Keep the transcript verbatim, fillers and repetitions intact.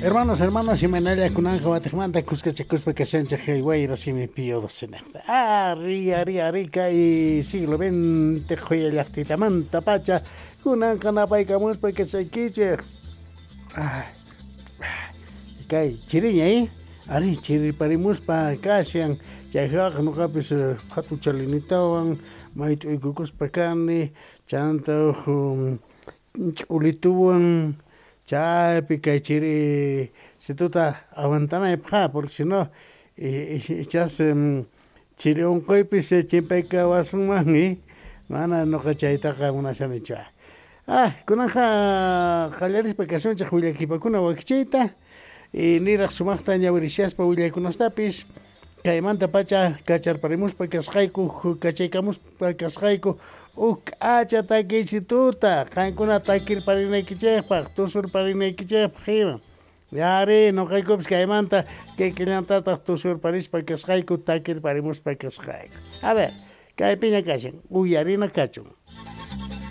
Hermanos, hermanas, imaynalla kunanqa watiqmanta kuskachakuspa kashanchik kay wayra simi Pío doce. Ari, ari, ari, kay siglo veinte qhuya llaqtitamanta pacha kunanqa napaykamuspa kashaykichik. Kay chiriña, eh? Ari, chirirparimuspa kashan. Chayqa nuqapis hatuchalinitawan mayt'uykukuspa kani, chanta huk ch'ulituwan chaypi kay chiri situta aguantanaypaq, porque si no ichas chiri unquypis chimpaykawasunmanmi, mana nuqa chaytaqa munashanichu. Ah, kunanqa qallarispa kasunchik willakipakuna wakichiyta y niraq sumaqta ñawirishaspa willaykunastapis kaymanta pacha kacharparimuspa kasqayku, kachaykamuspa kasqayku huk k'acha takiysituta qankuna takirparinaykichikpaq, tusurparinaykichikpaq ima. Yari nuqaykupis kaymanta kikillantataq tusurparispa kasqayku, takirparimuspa kasqayku. A ver, kaypiña kashan, uyarina kachun.